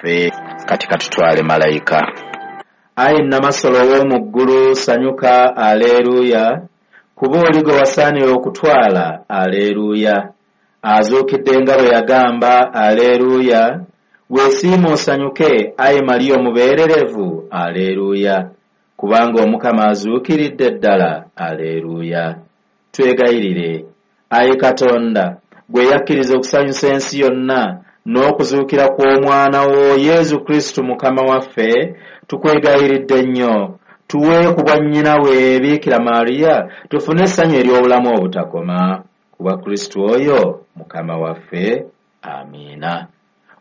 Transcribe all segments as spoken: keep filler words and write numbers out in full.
Ffe kati katutwale malayika. Ayi Nnamasolo ow'omu ggulu, sanyuka, aleeruya, kuba oli gwe wasaanira okutwala, aleeruya. Azuukidde nga bwe yagamba, aleeruya. Weesiime osanyuke, ayi Mariya omubeererevu, aleeruya. Kubanga Omukama azuukiridde ddala, aleeruya. Twegayirire, ayi Katonda, gwe yakkiriza okusanyusa ensi yonna n'okuzuukira kw'omwana wo Yesu Kristo Mukama waffe, tukwegayiridde nnyo, tuwe ku bwa nnyina we Biikira Mariya, tufune essanyu ery'obulamu obutakoma. Kuba Kristo oyo Mukama waffe. Amiina.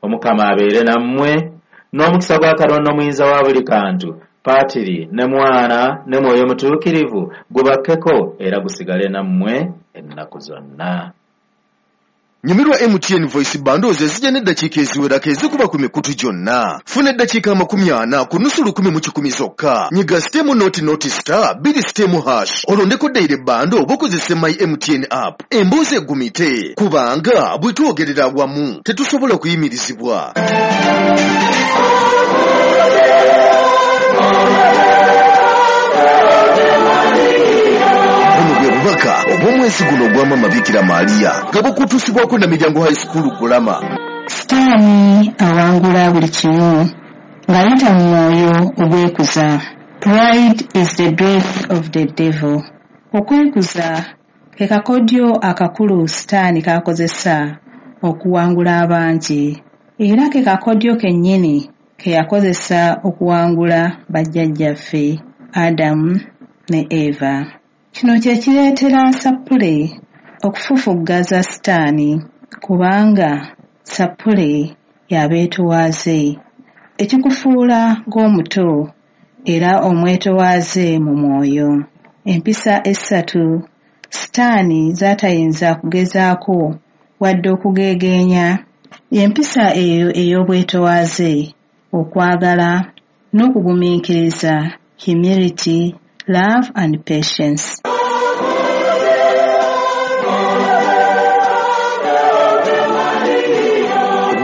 Omukama abeere nammwe, n'omukisa gwa Katonda omuyinza wa buli kantu, Patiri ne Mwana ne Mwoyo Mutuukirivu gubakkeko era gusigale nammwe ennaku zonna. Nyumirwa M T N Voice Bundles ezijja n'eddakiika eziwerako ezikuba ku mikutu gyonna. Funa eddakiika amakumi ana ku nusu lukumi mu kikumi zokka. Nyiga sitemu noti noti star bbiri sitemu hash. Olondeko daily bundle oba okozese My M T N app. Emboozi egumite kubanga bwe twogerera awamu tetusobola kuyimirizibwa. Obubaka obw'omwezi guno ogwa Maama Bikira Maria nga bukutuusibwako na Miryango High School Gulama. Sitaani awangula buli kimu ng'ayita mu mwoyo ogwekuza. Pride is the breath of the devil. Okwekuza ke kakodyo akakulu Sitaani k'akozesa okuwangula abangi, era ke kakodyo kennyini ke yakozesa okuwangula bajjajjaffe Adamu ne Eva. Kino kye kireetera Sappule okufufuggaza Sitaani, kubanga Sappule y'abeetowaaze, ekikufuula ng'omuto era omwetowaaze mu mwoyo. Empisa essatu Sitaani z'atayinza kugezaako wadde okugeegeenya, y'empisa eyo ey'obwetowaaze, okwagala n'okugumiikiriza, humility, love and patience.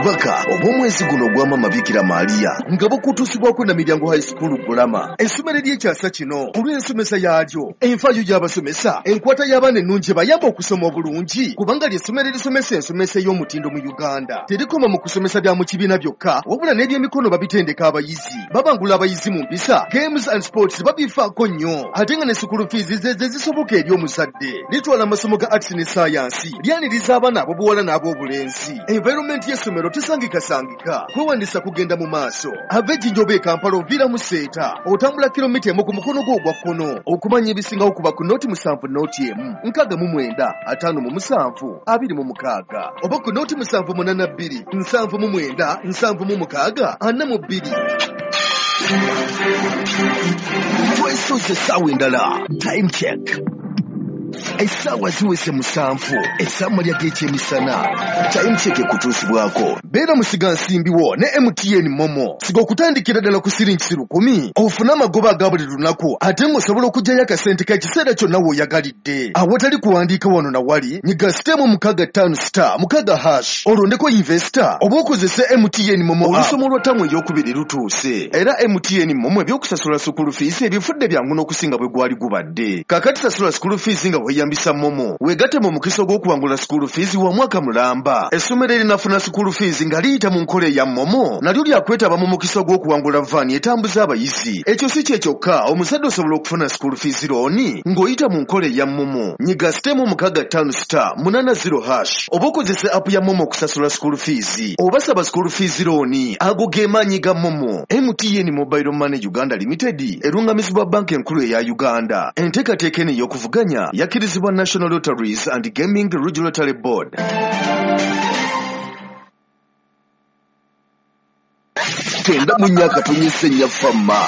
Obubaka obw'omwezi guno ogwa Maama Bikira Maria nga bukutuusibwako na Miryango High School Gulama. Essomero ery'ekyasa kino olw'ensomesa yaalyo, enfaayo y'abasomesa, enkwata y'abaana ennungi ebayamba okusoma obulungi, kubanga ly'essomero erisomesa ensomesa ey'omutindo mu Uganda. Terikoma mu kusomesa bya mu kibiina byokka, wabula n'ebyemikono babitendeka abayizi. Babangula abayizi mu mpisa, games and sports babifaako nnyo, ate nga ne school fees ze ze zisoboka eri omuzadde. Litwala amasomo ga arts ne science, lyaniriza abaana ab'obuwala n'ab'obulenzi. Environment y'essomero tesangikasangika, kwewandisa kugenda mu maaso. Ava Ejjinja oba e Kampala oviira mu Seeta, otambula kilomita emu ku mukono gwo ogwa kkono. Okumanya ebisingawo kuba ku noti musanvu noti emu nkaaga mu mwenda ataano mu musanvu abiri mu mukaaga, oba ku noti musanvu munaana bbiri nsanvu mu mwenda nsanvu mu mukaaga ana mu bbiri. Twesoze essaawa endala. Time check. Essaawa ziweze musanvu, ez'amalya g'ekyemisana. Time check ekutuusibwako. Beera musigansimbi wo ne M T N Momo. Siga okutandikira ddala ku siringi lukumi, ofune amagoba aga buli lunaku, ate ng'osobola okuggyayo akasente k'ekiseera kyonna w'oyagalidde. Awatali kuwandiika wano na wali, nyiga sitemu mukaaga ttaano star mukaaga hash, olondeko investor oba okozese M T N Momo. Olusoma olwa ttamu ey'okubiri lutuuse, era M T N Momo eby'okusasula school fees ebifudde byangu n'okusinga bwe gwali gubadde. Kaakati sasula school fees nga weeyambisa Momo. Weegatte mu mukisa ogw'okuwangula school fees wa mwaka mulamba. Essomero erinafuna school fees nga liyita mu nkola eya Momo nalyo lyakwetaba mu mukisa ogw'okuwangula vaani etambuza abayizi. Ekyo si kye kyokka, omuzadde osobola okufuna school fees loan ng'oyita mu nkola eya Momo. Nyiga sitemu mukaaga ttaano star munaana zero hash oba okozese app ya Momo okusasula school fees oba saba school fees loan. Ago ge maanyi ga Momo. M T N Mobile Money Uganda Limited erungamizibwa Banka Enkulu eya Uganda. Enteekateeka eno ey'okuvuganya yakkirizibwa National Lotteries and Gaming Regulatory Board. Tenda mu myaka tonyese nnyafamma.